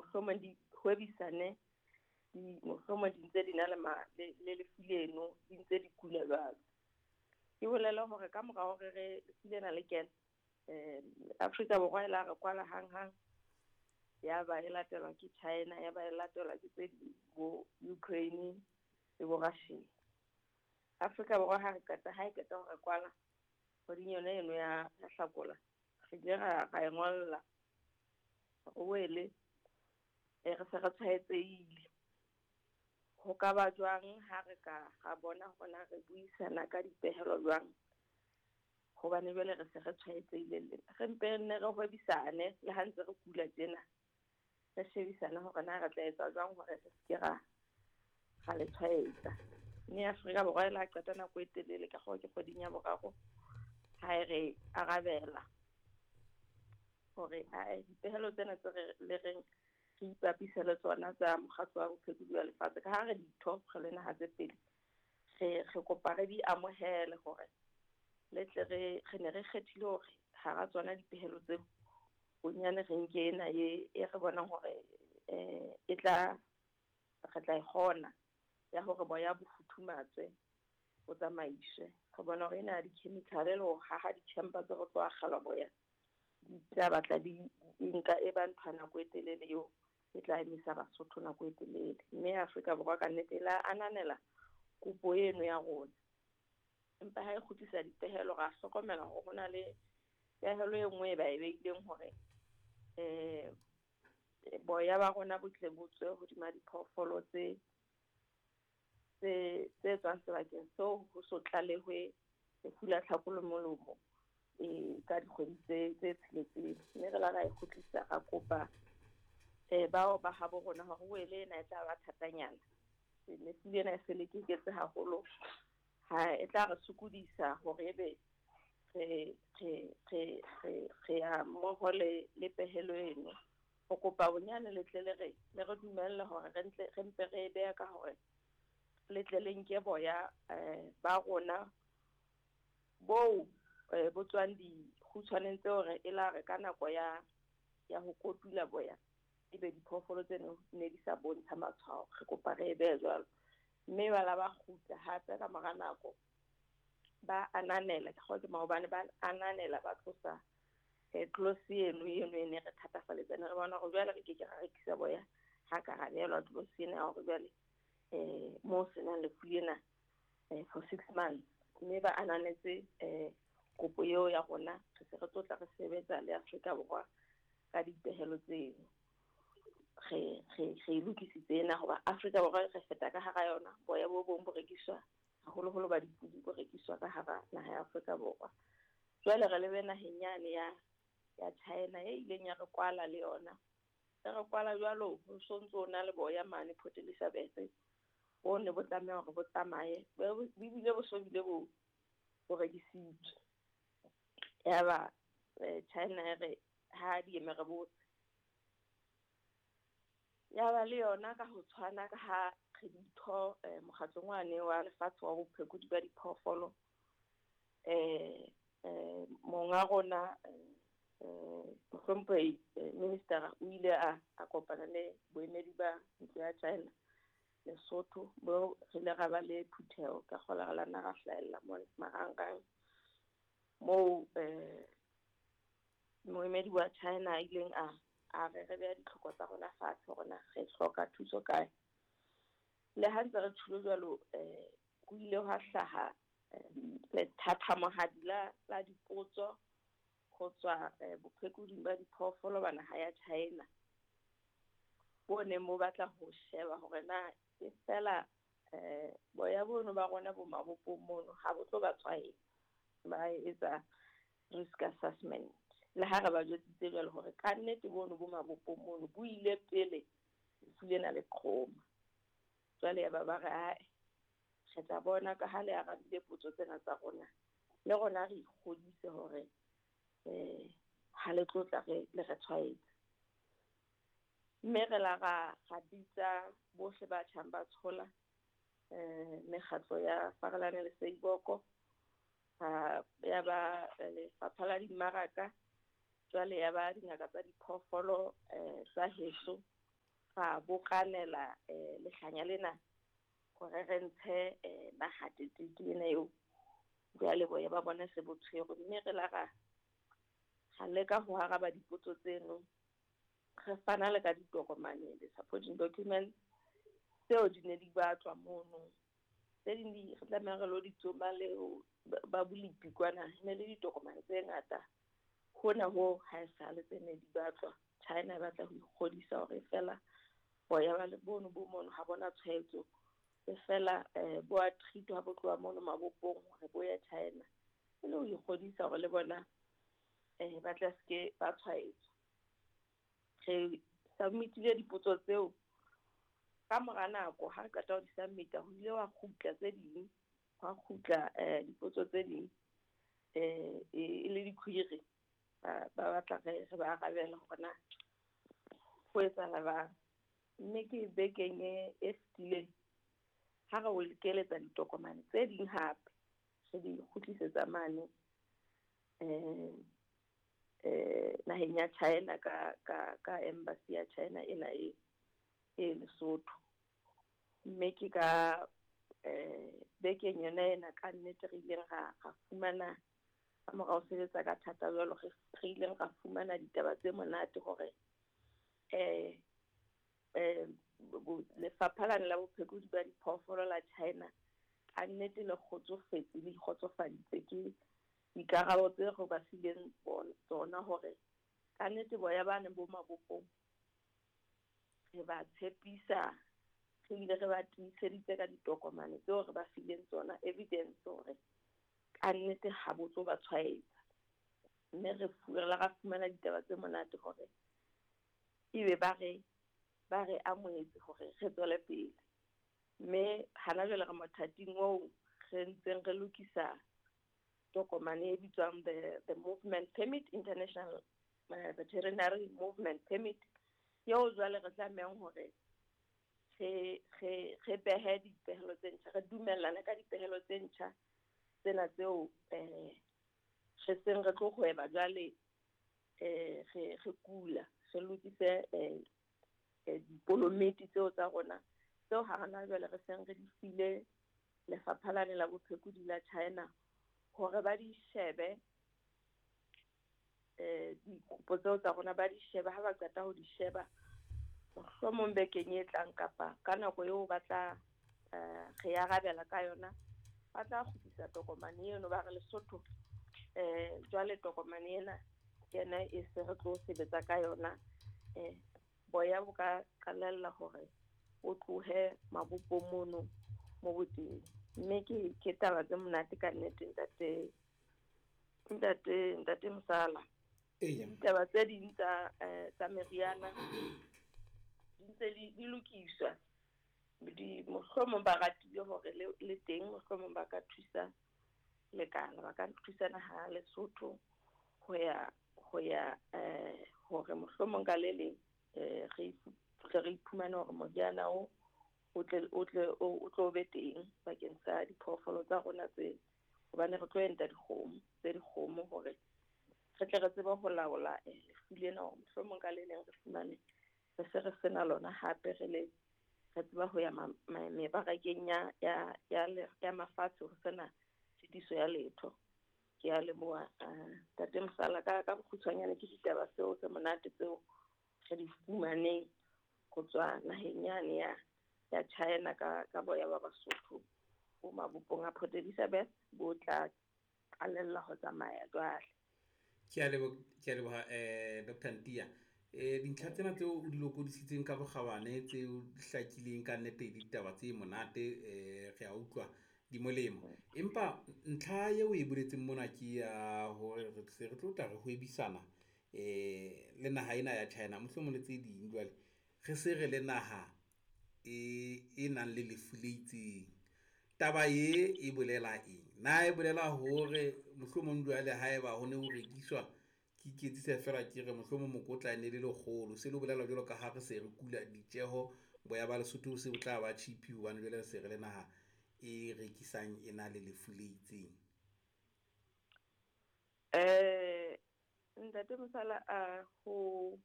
Mohlomong di hwebisane di mohlomong di ntse di na le le lefu leno, di ntse di kula jwalo. Ke bolele hore ka mora hore re lefu lena le kene, Afrika Borwa e la re kwala hang-hang, ya ba e latelwa ke China, ya ba e latelwa ke tse ding bo Ukraine le bo Russia. Afrika Borwa ha re qeta ha e qeta ho re kwala kgweding yona eno ya Hlakola, re ile ra e ngolla wele re se re tshwaetsehile. Ho ka ba jwang ha re ka ra bona hore re buisana ka dipehelo jwang, hobane jwale re se re tshwaetsehile, re mpe nne re hwebisane le ha ntse re kula tjena, re shebisane hore na re tla etsa jwang hore re se ke ra le tshwaetsa. Mme Afrika Borwa e la qeta nako e telele ka ke kgweding ya boraro ha e re arabela hore dipehelo tsena tse re le reng re ipapise le tsona tsa mokgatlo wa bophelo ba lefatshe, ka ha re ditho re le naha tse pedi, re kopa re di amohele hore le tle re ne re kgethile hore hara tsona dipehelo tseo bonyane re nke ena e re bonang hore e tla re tla e kgona ya hore boya bo futhumatswe bo tsamaiswe. Re bona hore ena ya di-chemical le ho haha di-chamber tse re tlo akgelwa boya di tla batla di nka e ba ntho ya nako e telele eo e tla emisa Basotho nako e telele. Mme Afrika Borwa ka nnete la ananela kopo eno ya rona, empa ha e kgutlisa dipehelo ra hlokomela hore ho na le pehelo e nngwe e ba e beileng hore boya ba rona bo tle bo tswe hodima diphoofolo tse tswang sebakeng seo ho so tlalehwe lefu la tlhako le molomo ka dikgwedi tse tsheletseng. Mme re la ra e kgutlisa ra kopa bao ba habo rona hore wele ena e tla ba thatanyana, lefu lena e se le keketse haholo, ha e tla re sokodisa hore ebe re ya mmoho le pehelo eno. Ho kopa bonyane le tle le re dumelle hore re mpe re e beha ka hore le tle le nke boya ba rona bo bo tswang dikgutshwaneng tseo re e la re ka nako ya ho kotula boya ebe diphoofolo tseno ne di sa bontsha matshwao, re kopa re e behe jwalo. Mme ba la ba kgutla hape ka mora nako ba ananela, ke kgotse maobane ba ananela ba tlosa clause eno e ne re thatafaletsa, ne re bona hore jwale re ke ke ra rekisa boya ha ka ra behelwa clause ena ya hore jwale mo senang lefu lena for 6 months. Mme ba ananetse kopo eo ya rona, re se re tlotla re sebetsa le Afrika Borwa ka dipehelo tseno. Re lokisitse ena hoba Afrika Borwa re feta ka hara yona, boya bo bong bo rekiswa haholoholo ba dipudi bo rekiswa ka hara naha ya Afrika Borwa. Jwale re lebe naheng yane ya China e ileng ya re kwala le yona, e re kwala jwalo ho sontso na le boya mane Port Elizabeth bo ne bo tlameha hore bo tsamaye, bo bile bo so bile bo rekisitswe. Yaba China e re ha di eme re botse, ya ba le yona ka ho tshwana ka ha re ditho mokgatlong wane wa lefatshe wa bophekodi ba diphoofolo, monga rona mohlomphehi minister o ile a kopana le boemedi ba ntlo ya China Lesotho, bo re ile ra ba le phutheho ka kgola re la nna ra hlahella mona marangrang moo moemedi wa China a ileng a re re beha ditlhoko tsa rona fatshe hore na re hloka thuso kae. Le ha ntse re tjholo jwalo ho ile hwa hlaha lethathamohadi la dipotso ho tswa bophekoding ba diphoofolo ba naha ya China, bo neng bo batla ho sheba hore na e fela boya bono ba rona bo mabopong mono ha bo tlo ba tshwaetsa, ba etsa risk assessment. Le ha re ba jwetsitse jwalo hore ka nnete bono bo mabopong mono bo ile pele lefu lena le qhoma. Jwale ya ba ba re ae re tla bona ka ha le arabile potso tsena tsa rona, le rona re ikgodise hore ha le tlotla re le re tshwaetsa. Mme re la ra bitsa bohle ba tjhang ba tshola mekgatlo ya Farelane le Seiboko, ya ba lefapha la dimmaraka, jwale ya ba dingaka tsa diphoofolo tsa heso. ra bokanela lehlanya lena hore re ntshe nahathetheke ena eo jwale boya ba bona se bo tshwerwe. Mme re la ra leka ho araba dipotso tseno, re fana le ka ditokomane, the supporting documents tseo di ne di batlwa mono. Tse ding di re tlameha re lo di tsoma le ba bolepi kwana, ne le ditokomane tse ngata. Hona ho ha esale tse ne di batlwa. China e batla ho ikgodisa hore fela boya ba le bono bo mono ha bona tshwaetso, e fela bo a treatwa ha bo tloha mono mabopong hore bo ya China, e le ho ikgodisa hore le bona ba tla seke ba tshwaetswa. Re submit-ile dipotso tseo ka mora nako. Ha re qeta ho di submit-a, ho ile wa kgutla tse ding, hwa kgutla dipotso tse ding e le di-query, ba batla re ba arabela hore na ho etsahala bang. Mme ke bekeng e fetileng ha re o keletsa ditokomane tse ding hape, re di kgutlisetsa mane naheng ya China ka embassy ya China ena e Lesotho. Mme ke ka bekeng yona ena ka nnete re ileng ra fumana, ka mora ho sebetsa ka thata jwalo, re ileng ra fumana ditaba tse monate hore lefapha lane la bophekodi ba diphoofolo la China ka nnete le kgotsofetse, le ikgotsofaditse ke dikarabo tse re ba fileng tsona hore ka nnete boya bane bo mabopong re ba tshepisa, re bile re ba tiiseditse ka ditokomane tseo re ba fileng tsona, evidence hore ka nnete ha bo tlo ba tshwaetsa. Mme re ra fumana ditaba tse monate hore ebe ba re amohetse hore re tswele pele. Mme hana jwale re mothating oo re ntseng re lokisa tokomane e bitswang the movement permit, international veterinary movement permit, eo jwale re tlamehang hore re behe dipehelo tse ntjha, re dumellane ka dipehelo tse ntjha tsena tseo re seng re tlo hweba jwale, re kula, re lokise dipolometi tseo tsa rona tseo ha rona jwale re seng re di file lefapha lane la bophekodi la China hore ba di shebe, dikopo tseo tsa rona ba di shebe. Ha ba qeta ho di sheba, mohlomong bekeng e tlang kapa ka nako eo ba tla re arabela ka yona, ba tla kgutlisa tokomane eno, ba re Lesotho jwale tokomane ena ke yona e se re tlo sebetsa ka yona. Boya bo ka qalella hore o tlohe mabopong mono mo boteng. Mme ke taba tse monate ka nnete, ntate Mosala. Ditaba tse ding tsa meriana di ntse di lokiswa, di mohlomong ba ratile hore le teng mohlomong ba ka thusa lekala, ba ka thusa naha Lesotho ho ya hore mohlomong ka le leng re iphumane hore moriana o tlo be teng bakeng sa diphoofolo tsa rona tse, hobane re tlo enta dikgomo tse dikgomo hore re tle re tsebe ho laola lefu lena, hore mohlomong ka le leng re fumane re se re sena lona hape, re le re tseba ho ya mebarakeng ya mafatshe ho sena tshitiso ya letho. Ke a leboha ntate Mosala ka bokgutshwanyane ke ditaba tseo tse monate tseo re di fumaneng ho tswa naheng yane ya China ka boya ba Basotho bo mabopong a Port Elizabeth bo tla qalella ho tsamaya jwale. Ke a leboha Dr. Ntiya. Dintlha tsena tseo o di lokodisitseng ka bokgabane tseo di hlakileng ka nnete ditaba tse monate, re a utlwa di molemo. Empa ntlha eo e boletseng mona ke ya hore re se re tlo tla re hwebisana le naha ena ya China, mohlomong le tse ding. Jwale re se re le naha e nang le lefu le itseng. Taba e bolela eng? Na e bolela hore mohlomong jwale haeba ho ne ho rekiswa, ke iketsisa fela ke re mohlomong mokotla ne le lekgolo, se le bolela jwalo ka ha re se re kula ditjeho, boya ba Lesotho se bo tla ba cheap hobane jwale re se re le naha e rekisang e na le lefu le itseng. Ntate Mosala, ho